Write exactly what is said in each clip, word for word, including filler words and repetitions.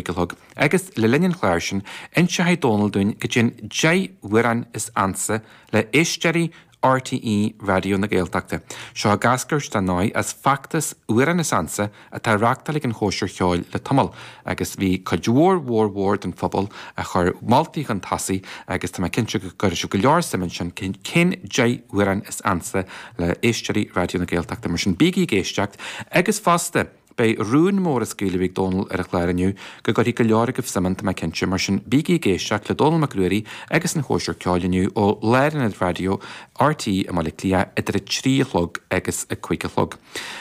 a chlog, agus le linn an chláir sin, inseoidh Dónal dúinn goidé an deich amhrán is ansa le éisteoirí RTÉ Raidió na Gaeltachta. Seo ag eascairt dar ndóigh as feachtas Amhrán is Ansa atá á reáchtáil ag an Chóisir Cheoil le tamall, agus bhí cuid mhór mhór mhór den phobal a chuir moltaí chun tosaigh agus tá mé cinnte go gcuirfidh sibh go leor suim ansin cén deich amhrán is ansa le éisteoirí Raidió na Gaeltachta. Mar sin bígí ag éisteacht agus fosta beidh rún mór á scaoileadh ag Dónal ar an chlár inniu go gcuirfidh go leor agaibh suim ann, tá mé cinnte. Mar sin bígí ag éisteacht le Dónal Mac Ruairí agus an Chóisir Ceoil inniu ó Lárionad Raidió RTÉ i mBaile Átha Cliath idir a trí a chlog agus a cúig a chlog.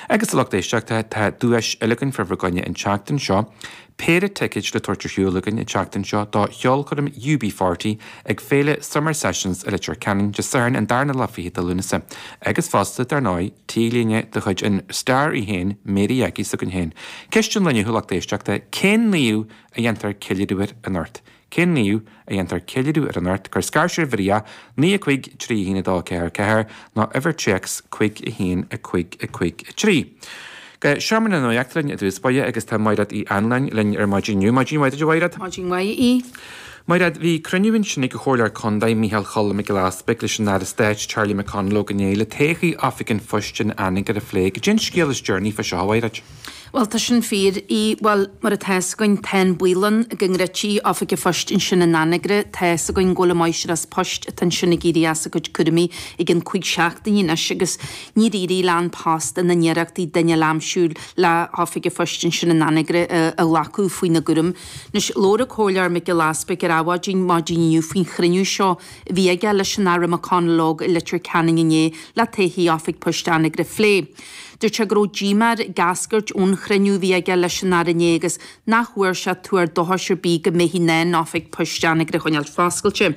Agus a lucht éisteachta, tá duais eile againn fá bhur gcoinne an tseachtain seo. Péire ticéid le tabhairt ar shiúl againn an tseachtain seo do cheolchoirm U B forty ag féile Summer Sessions i Leitir Ceanainn Dé Sathairn an darna lá fichead de Lúnasa. Agus fosta, dar ndóigh, T-léine de chuid an Star í féin, Mary Aggie s'againn féin. Ceist an lae inniu, a lucht éisteachta, cén naomh a dhéantar ceiliúradh air anocht? Cén naomh a dhéantar ceiliúradh air anocht? Cuir scairtear uimhir a naoi a cúig trí a haon a dó ceathair ceathair nó uimhir téacs cúig a haon a cúig a cúig a trí. Go Seomra na Nuachta linn i dtús báire agus tá Mairéad Uí Anluain linn ar maidin inniu. Maidin mhaith duit, a Mhairéad. Maidin mhaith, a Aoidh. Mairéad, bhí cruinniú ansin ag an Chomhairleoir Contae Micheál Cholm Mac Giolla Easpaig leis an Aire Stáit Charlie McConalogue inné le todhchaí Oifig an Phoist in Anagaire a phlé. Goidé an scéal is deireanaí fá seo, a Mhairéad? Bhuel, tá sin fíor, a Aoidh. Bhuel, mar atá fhios againn, tá an baol ann go ndruidfí Oifig an Phoist ansin in Anagaire. Tá fhios againn go bhfuil an máistreás poist atá ansin ag éirí as a cuid cúraimí i gcionn cúig seachtainí anois agus níor éirigh le An Post ina n-iarrachtaí duine a aimsiú le hOifig an Phoist ansin in Anagaire a ghlacadh faoina gcúram. Anois, labhair an Comhairleoir Mac Giolla Easpaig ar Adhmhaidin maidin inniu faoin chruinniú seo a bhí aige leis an Aire McConalogue i Leitir Ceanainn inné le todhchaí Oifig Poist Anagaire a phlé. Dúirt sé go raibh díomá air ag eascairt ón chruinniú a bhí aige leis an Aire inné agus nach bhfuair sé tuar dóchais ar bith go mbeifí in ann Oifig Poist Anagaire a choinneáil foscailte.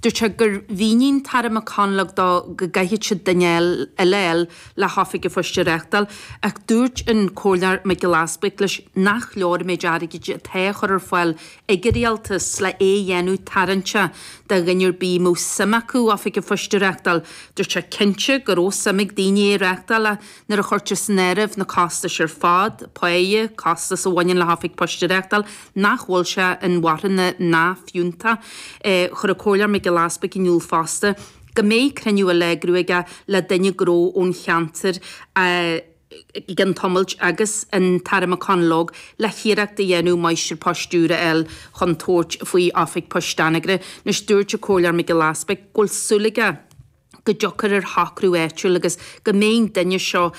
Dúirt sé gur mhínigh an tAire McConalogue dó go gcaithfidh siad duine eile a fháil le hOifig an Phoist a reáchtáil ach dúirt an Comhairleoir Mac Giolla Easpaig leis nach leor an méid airgid atá á chur ar fáil ag an Rialtas le é a dhéanamh tarraingteach do dhuine ar bith a mbeadh suim acu Oifig an Phoist a reáchtáil. Dúirt sé cinnte go raibh suim ag daoine é a reáchtáil ach nuair a chuirtear san áireamh na costais ar fad, páighe, costas a bhaineann le hOifig Poist a reáchtáil, nach bhfuil sé inmharthana ná fiúntach. Chuir an Comhairleoir Mac Giolla Easpaig in iúl fosta go mbeidh cruinniú eile á eagrú aige le duine gnó ón cheantar i gcionn tamaill agus an tAire McConalogue le hiarracht a dhéanamh máistir poist úr a fháil chun tabhairt faoi Oifig Poist Anagaire. Anois dúirt an Comhairleoir Mac Giolla Easpaig go bhfuil súil aige go dtiocfar ar shocrú áitiúil agus go mbeidh an duine seo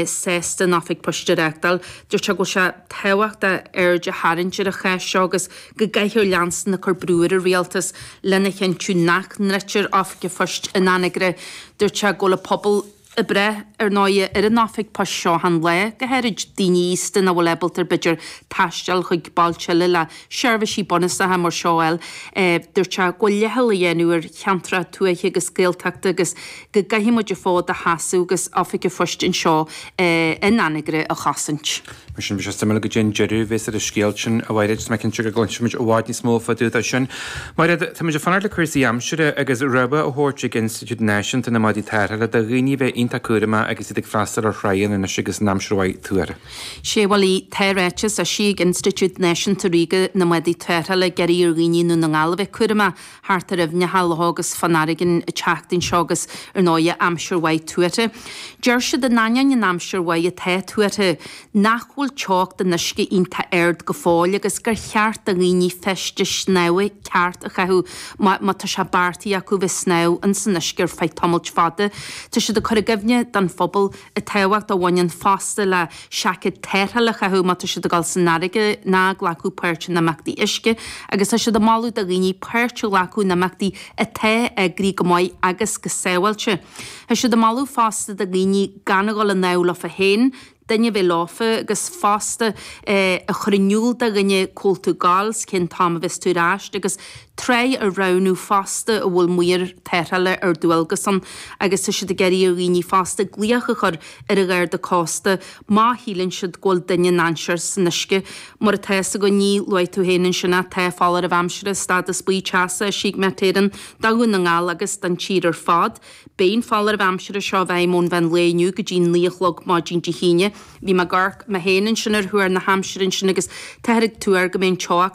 sásta an Oifig Poist a reáchtáil. Dúirt sé go bhfuil sé tábhachtach aird a tharraingt ar an chás seo agus go gcaithfear leanstan ag cur brú ar an Rialtas lena chinntiú nach ndruidtear Oifig an Phoist in Anagaire. Dúirt sé go bhfuil an pobal ag brath, ar ndóighe, ar an oifig poist seo achan lá, go háirid daoine aosta nach bhfuil ábalta b'fhéidir taisteal chuig bailte eile le seirbhísí bunúsacha mar seo a fháil. Dúirt sé go bhfuil leithcheal á dhéanamh ar cheantracha tuaithe agus Gaeltachta agus go gcaithfidh muid an fód a sheasamh agus oifig an phoist anseo in Anagaire a chosaint. Mar sin, beidh sé suimiúil goidé an deireadh a bheas ar an scéal sin, a Mhairéad, is mé cinnte go gcloisfimid i bhfad níos mó fá dtaobh de sin. Mairéad, táimid ag fanacht le cúrsaí aimsire agus rabhadh á thabhairt ag Institiúid Náisiúnta na mBádaí Tarrthála do dhaoine a bheith iontach cúramach agus iad ag freastal ar thráigheanna anois agus an aimsir mhaith tuartha. Sé, bhuel, tá ráiteas eisithe ag Institiúid Náisiúnta Ríoga na mBádaí Tarrthála ag iarraidh ar dhaoine i nDún na nGall a bheith cúramach thart ar aibhneacha, locha agus fán fharraige an tseachtain seo agus, ar ndóighe, aimsir mhaith tuartha. Deir siad in ainneoin an aimsir mhaith atá tuartha, nach bhfuil teocht an uisce iontach ard go fóill agus gur cheart do dhaoine feiste snámha ceart a chaitheamh má má tá sé beartaithe acu bheith ag snámh ins an uisce ar feadh tamailt fada. Tá siad ag cur i gcuimhne don phobal an tábhacht a bhaineann fosta le seaicéad tarrthála a chaitheamh má tá siad ag dul san fharraige ná glacadh páirt in imeachtaí uisce agus tá siad ag moladh do dhaoine páirt a ghlacadh in imeachtaí atá eagraithe go maith agus go sábháilte. Tá siad ag moladh fosta do dhaoine gan a dhul ag snámh leofa féin, duine a bheith leofa agus fosta a chur in iúl do dhuine cá bhfuil tú ag gabháil 's cén t-am a bheas tú ar ais agus tráigh a roghnú fosta a bhfuil maor tarrthála ar dualgas ann agus tá siad ag iarraidh ar dhaoine fosta glaoch a chur ar an Gharda Cósta má shíleann siad go bhfuil duine i ndainséar san uisce. Mar atá fhios againn, luaigh tú féin ansin ach tá foláireamh aimsire stádas buí teasa eisithe ag Met Éireann do Dhún na nGall agus don tír ar fad. Beidh an foláireamh aimsire seo i bhfeidhm ón mheán lae inniu go dtí naoi a chlog maidin Dé hAoine Bhí mé ag amharc mé féin ansin ar thuar na haimsire ansin agus táthar ag tuar go mbeidh an teocht